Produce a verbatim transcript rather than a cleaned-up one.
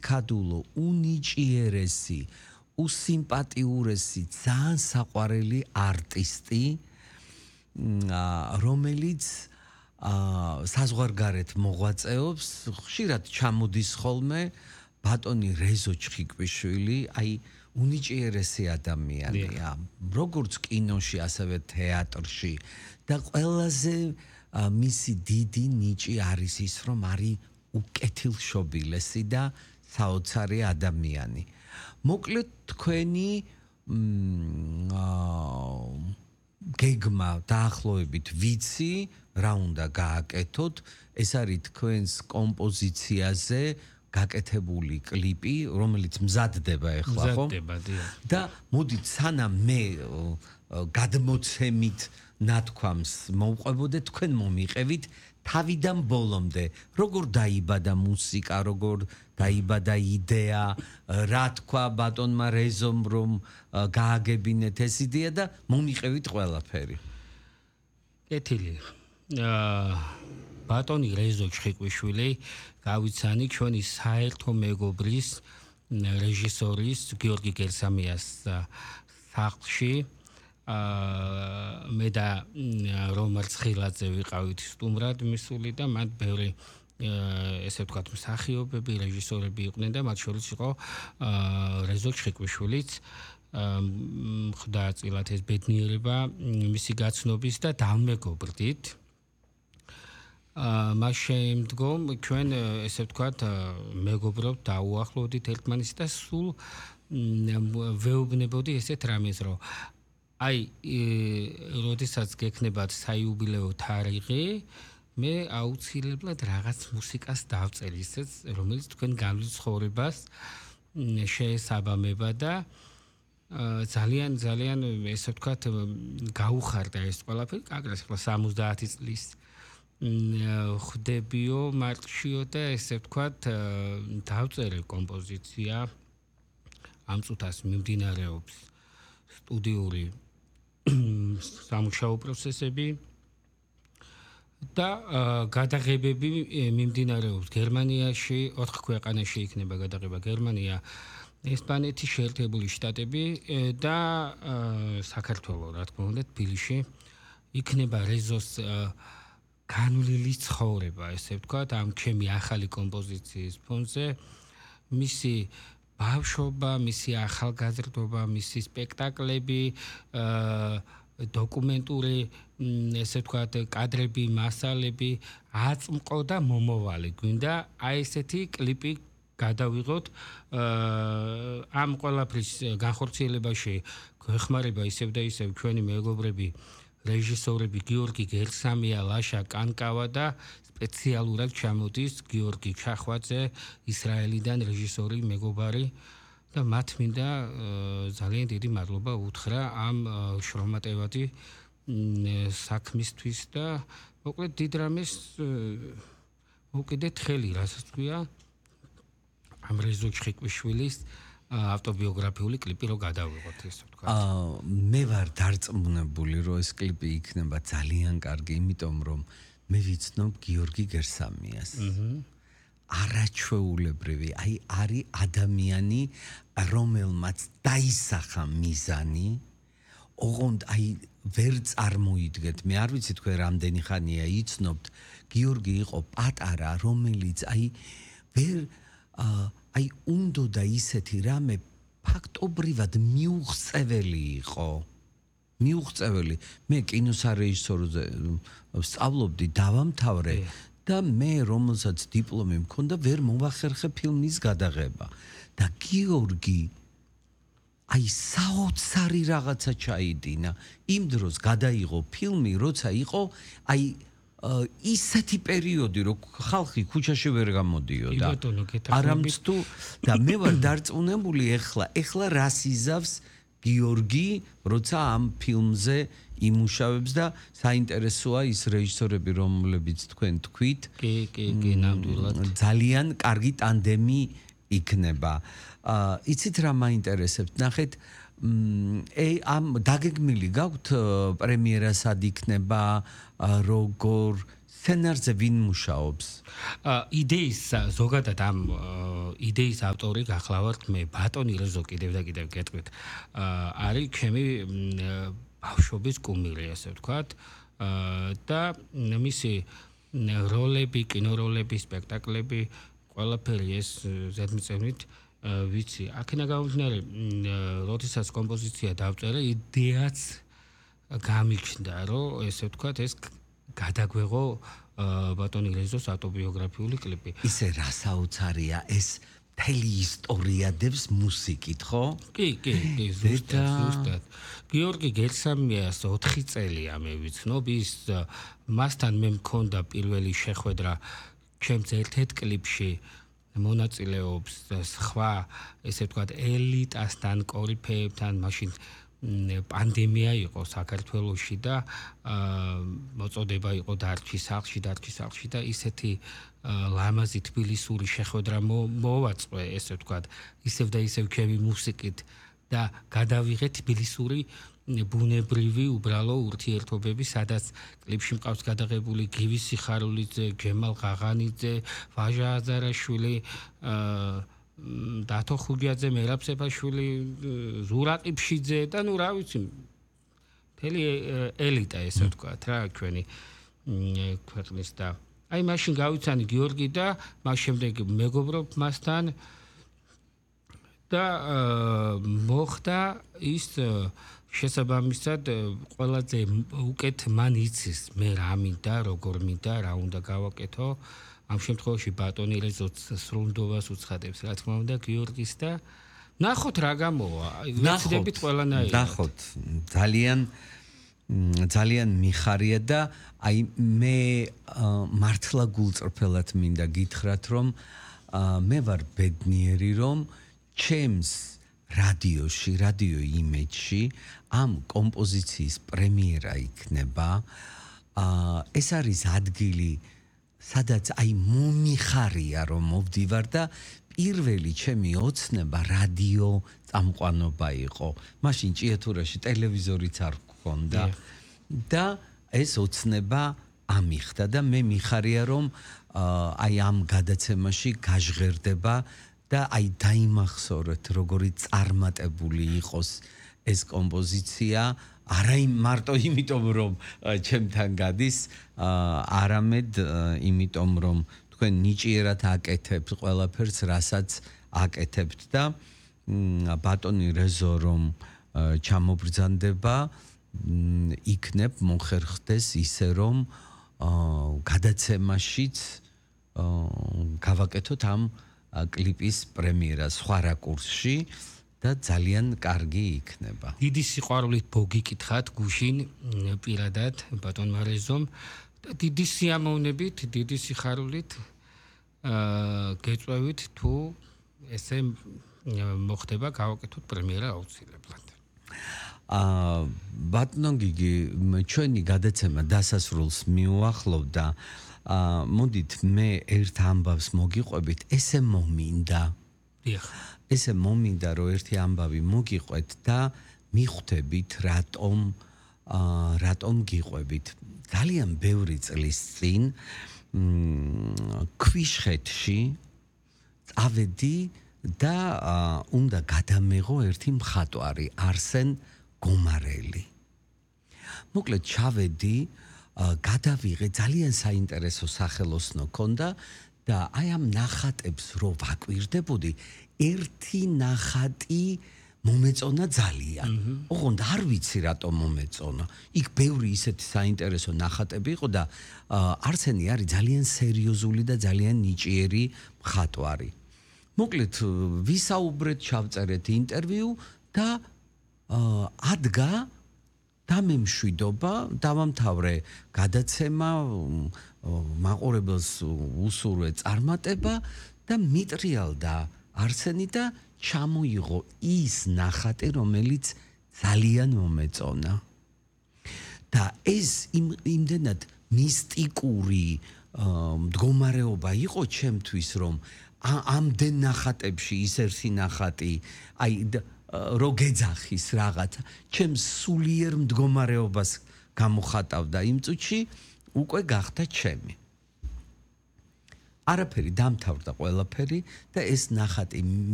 ნაკადულო, უნიჭიერესი, უსიმპატიურესი, ძალიან საყვარელი არტისტი, რომელიც საზღვარგარეთ მოღვაწეობს, ხშირად ჩამოდის ხოლმე ბატონი რეზო ჩხიკვიშვილი, აი უნიჭიერესი ადამიანია, როგორც კინოში, ასევე თეატრში და ყველაზე მისი დიდი ნიჭი არის ის, რომ არის უკეთილშობილესი და საოცარი ადამიანი. მოკლედ თქვენი გეგმა დაახლოებით ვიცი, რა უნდა გააკეთოთ, ეს არის თქვენს კომპოზიციაზე გაკეთებული კლიპი, რომელიც მზადდება ახლა, ხო? მზადდება, დიახ. და მოდით სანამ მე გადმოცემით ნათქვამს მოვყვებოდე, თქვენ მომიყევით თავიდან ბოლომდე, როგორ დაიბადა მუსიკა, როგორ დაიბადა იდეა, რა თქვა ბატონმა რეზომ, რომ გააგებინეთ ეს იდეა და მომიყევით ყველაფერი. კეთილი. ბატონი რეზო ჩხიკვიშვილი გავიცანი ჩვენი საერთო მეგობრის რეჟისორის გიორგი გერსამიას სახლში. მე და რომარ ცხილაძე ვიყავით სტუმრად მისული და მათ ბევრი ესე ვთქვათ მსახიობები, რეჟისორები იყვნენ და მათ შორის იყო რეზო ჩხიკვიშვილიც. ხდაწილად ეს ბედნიერება მისი გაცნობის და დამეგობრდით. მას შემდგომ ჩვენ ესე ვთქვათ მეგობრობ დაუახლოვდით ერთმანეთს და სულ ვეუბნებოდი ესეთ რამეს, რომ აი, როდესაც გექნებათ საიუბილეო თარიღი, მე აუცილებლად რაღაც მუსიკას დავწერ ისეც, რომელიც თქვენ განვლიცხოვრებას შეესაბამება და ძალიან ძალიან ესე ვთქვათ გაუხარდა ეს ყველაფერი, კაკრას ახლა სამოცდაათი წლის ხდებიო მარტშიო და ესე ვთქვათ დავწერე კომპოზიცია ამ წუთას მიმდინარეობს სტუდიური სამუშაო პროცესები და გადაღებები მიმდინარეობს გერმანიაში, ოთხ ქვეყანაში იქნება გადაღება გერმანია, ესპანეთი, შეერთებული შტატები და საქართველო, რა თქმა უნდა, თბილისში იქნება რეზოს განვლილი ცხოვრება, ესე ვთქვათ, ამ ჩემი ახალი კომპოზიციის ფონზე, მისი ბავშვობა, მისი ახალგაზრდობა, მისი სპექტაკლები, დოკუმენტური, ესე ვთქვათ, კადრები, მასალები, აწმყო და მომავალი. გვინდა აი ესეთი კლიპი გადავიღოთ. ამ ყველაფრის განხორციელებაში გვეხმარება ისევ და ისევ ჩვენი მეგობრები, რეჟისორები გიორგი გერსამია, ლაშა კანკავა და სპეციალურად ჩამოდის გიორგი ჩახვაძე, ისრაელიდან რეჟისორი მეგობარი და მათ მინდა ძალიან დიდი მადლობა უთხრა ამ შრომატევადი საქმისთვის და მოკლედ დიდ რამეს მოვკიდეთ ხელი, რასაც თქვია ამ რეზო ჩხიკვიშვილის ავტობიოგრაფიული კლიპი რო გადავიღოთ, ესე ვთქვათ. მე ვარ დარწმუნებული, რომ ეს კლიპი იქნება ძალიან კარგი, იმიტომ რომ მე ვიცნობ გიორგი გერსამიას. არაჩვეულებრივი, აი არის ადამიანი, რომელმაც დაისახა მიზანი, ოღონდ აი ვერ წარმოიდგეთ. მე არ ვიცი თქვენ რამდენი ხანია იცნობთ, გიორგი იყო პატარა, რომელიც აი ვერ აი უნდოდა ისეთი რამე ფაქტობრივად მიუღწეველი იყო. მიუღწეველი. მე კინოსარეჟისორზე სწავლობდი, დავამთავრე და მე რომელსაც დიპლომი მქონდა, ვერ მოვახერხე ფილმის გადაღება. და გიორგი აი საოცარი რაღაცა ჩაიდინა. იმ დროს გადაიღო ფილმი, როცა იყო აი ისეთი პერიოდი, რომ ხალხი ქუჩაში ვერ გამოდიოდა. არამც თუ და მე ვარ დარწმუნებული ეხლა, ეხლა რას იზავს გიორგი, როცა ამ ფილმზე იმუშავებს და საინტერესოა ის რეჟისორები, რომლებიც თქვენ თქვით. კი, კი, კი, ნამდვილად. ძალიან კარგი ტანდემი იქნება. იცით რა მაინტერესებთ? ნახეთ, ამ დაგეგმილი გაქვთ პრემიერა სად იქნება, როგორ, სცენარზე ვინ მუშაობს? იდეის ზოგადად ამ იდეის ავტორი გახლავართ მე ბატონი რეზო კიდევ და კიდევ გეტყვით. არის ჩემი ბავშვობის კუმირი, ასე ვთქვათ. და მისი როლები, კინოროლები, სპექტაკლები, ყველაფერი ეს ზედმიწევნით ვიცი. აქედან გამომდინარე, როდესაც კომპოზიცია დავწერე, იდეაც გამიჩნდა, რომ ესე ვთქვათ, ეს გადაგვეღო ბატონი რეზოს ავტობიოგრაფიული კლიპი. ისე რა საოცარია ეს მთელი ისტორია დევს მუსიკით, ხო? კი, კი, კი, ზუსტად, ზუსტად. გიორგი გერსამიას ოთხი წელია მე ვიცნობ, ის მასთან მე მქონდა პირველი შეხვედრა ჩემს ერთ-ერთ კლიპში მონაწილეობს სხვა, ესე ვთქვათ, ელიტასთან, კორიფეებთან, მაშინ პანდემია იყო საქართველოში და მოწოდება იყო დარჩი სახლში, დარჩი სახლში და ისეთი ლამაზი თბილისური შეხვედრა მოვაწყე, ესე ვთქვათ, ისევ და ისევ ჩემი მუსიკით და გადავიღე თბილისური ბუნებრივი უბრალო ურთიერთობები, სადაც კლიპში მყავს გადაღებული გივი სიხარულიძე, ჯემალ ღაღანიძე, ვაჟა აზარაშვილი, დათო ხუჯაძე, მერაბ სეფაშვილი, ზურაყი ფშიძე და ნუ რა ვიცი, მთელი ელიტა ესე ვთქვათ რა ჩვენი ქვეყნის და აი მაშინ გავიცანი გიორგი და მას შემდეგ მეგობრობ მასთან და მოხდა ის შესაბამისად ყველაზე უკეთ მან იცის მე რა მინდა, როგორ მინდა, რა უნდა გავაკეთო. ამ შემთხვევაში ბატონი რეზოც სრულნდობას უცხადებს, რა თქმა უნდა, გიორგის და ნახოთ რა გამოვა. ვეცდებით ყველანაირად. ნახოთ, ძალიან ძალიან მიხარია და აი მე მართლა გულწრფელად მინდა გითხრათ, რომ მე ვარ ბედნიერი, რომ ჩემს რადიოში, რადიო იმეჯში ამ კომპოზიციის პრემიერა იქნება. ეს არის ადგილი, სადაც აი მომიხარია, რომ მოვდივარ და პირველი ჩემი ოცნება რადიო წამყვანობა იყო. მაშინ ჭიათურაში ტელევიზორიც არ გქონდა და ეს ოცნება ამიხდა და მე მიხარია, რომ აი ამ გადაცემაში გაჟღერდება და აი დაიმახსოვრეთ, როგორი წარმატებული იყოს ეს კომპოზიცია, არა მარტო იმიტომ, რომ ჩემთან გადის, არამედ იმიტომ, რომ თქვენ ნიჭიერად აკეთებთ ყველაფერს, რასაც აკეთებთ და ბატონი რეზო რომ ჩამობრძანდება, იქნებ მოხერხდეს ისე, რომ გადაცემაშიც გავაკეთოთ ამ კლიპის პრემიერა სხვა რაკურსში და ძალიან კარგი იქნება. დიდი სიყვარულით მოგიკითხათ გუშინ პირადად ბატონმა რეზომ და დიდი სიამოვნებით, დიდი სიხარულით გეწვევით თუ ესე მოხდება გავაკეთოთ პრემიერა აუცილებლად. აა ბატონო გიგი, ჩვენი გადაცემა დასასრულს მიუახლოვდა. აა მოდით მე ერთ ამბავს მოგიყვებით, ესე მომინდა. დიახ. ესე მომინდა, რომ ერთი ამბავი მოგიყვეთ და მიხვდებით, რატომ აა რატომ გიყვებით. ძალიან ბევრი წლის წინ ქვიშხეთში წავედი და უნდა გადამეღო ერთი მხატვარი, არსენ გომარელი. მოკლედ ჩავედი, გადავიღე, ძალიან საინტერესო სახელოსნო ქონდა და აი ამ ნახატებს რო ვაკვირდებოდი, ერთი ნახატი მომეწონა ძალიან. ოღონდ არ ვიცი რატომ მომეწონა. იქ ბევრი ისეთი საინტერესო ნახატები იყო და არსენი არის ძალიან სერიოზული და ძალიან ნიჭიერი მხატვარი. მოკლედ ვისაუბრეთ, ჩავწერეთ ინტერვიუ და ადგა დამემშვიდობა, დავამთავრე გადაცემა, მაყურებელს უსურვე წარმატება და მიტრიალდა არსენი და ჩამოიღო ის ნახატი, რომელიც ძალიან მომეწონა. და ეს იმდენად მისტიკური მდგომარეობა იყო ჩემთვის, რომ ამდენ ნახატებში ის ერთი ნახატი, აი რო გეძახის რაღაც, ჩემს სულიერ მდგომარეობას გამოხატავდა იმ წუთში უკვე გახდა ჩემი. არაფერი დამთავრდა ყველაფერი და ეს ნახატი